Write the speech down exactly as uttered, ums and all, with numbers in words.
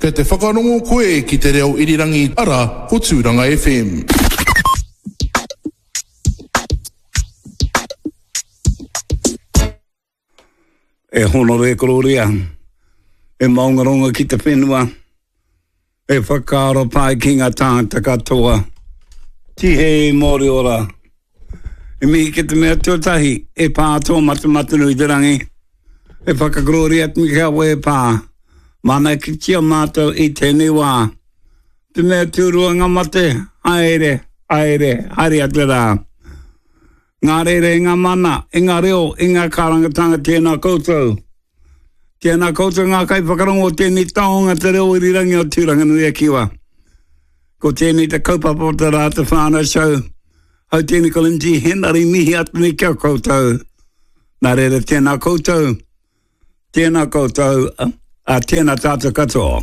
Kei te whakarongo koe ki te reo irirangi ara ko Tūranga F M. E honore kororia, e maungaronga ki te whenua, e whakaaro pai ki ngā tāngata katoa. Tihei mauri ora. E mihi ki te mea tuatahi, e pā tō Matematanui te rangi. E whakakororia atu ki a koe e pā. Manaakitia mātou i tēnei wā. Te mea tūrua ngā mate, haere, haere, haere atu rā. Ngā rere, ngā mana, i ngā reo, i ngā kārangatanga tēnā koutou. Tēnā koutou ngā kaiwhakarongo o tēnei taonga te reo irirangi o Tūranganui-a-Kiwa. Ko tēnei te kaupapa o te rā te whānau show. Hau tēnei ko Lindsay Henry mihi atu nei ki a koutou. Nā reira tēnā koutou, tēnā koutou, a tēnā tātou katoa.